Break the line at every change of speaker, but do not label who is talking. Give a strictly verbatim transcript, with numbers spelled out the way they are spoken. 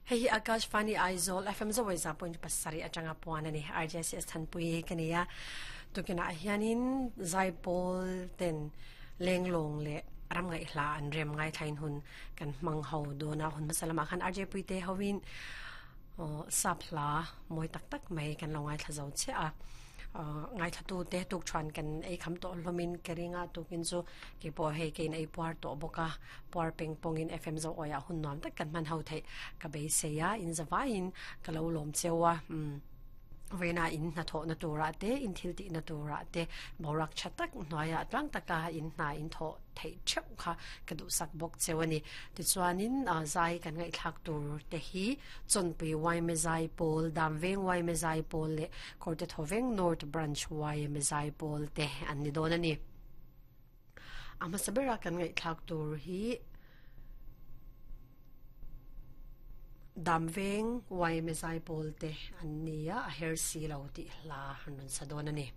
Hei hi Akashvani Aizawl F M Zawai za point pasarih atanga puan a ni. R J C S Thanpui ka ni a. Tukinah hianin Zaipawl ten lenglawng leh ram ngaihhla an rem ngaithlain hun kan hmang ho dawn a. Hun hmasa lamah khan R J Puite hoin sap hla mawi tak tak mai kan lo ngaithla zo chiah a. Ngaithla tu te tuk chuan kan ei kham tawh hlawmin ka ring a, tukin chu kei pawh hei kein ei puar tawh bawk a, puar peng pawngin F M Zoawiah hun nuam tak kan hman ho theih ka beisei a, in zavaiin ka lo lawm cheu a. Vawiina in hnathawhna turah te, in thil tihna turah te boruak tha tak hnuaiah tlang taka in hna in thawh theih theuh kha ka duhsak bawk cheu a ni. Tichuanin zai kan ngaihthlak tur te hi Chawnpui Y M A Zai Pawl, Damveng Y M A Zai Pawl leh Kawrte Thawveng North Branch Y M A Zai Pawl te an ni dawn a ni. A hmasa bera kan ngaihthlak tur hi Damveng Y M A Zai Pawl te an ni a, a her si lo tih hla an rawn sa dawn a ni.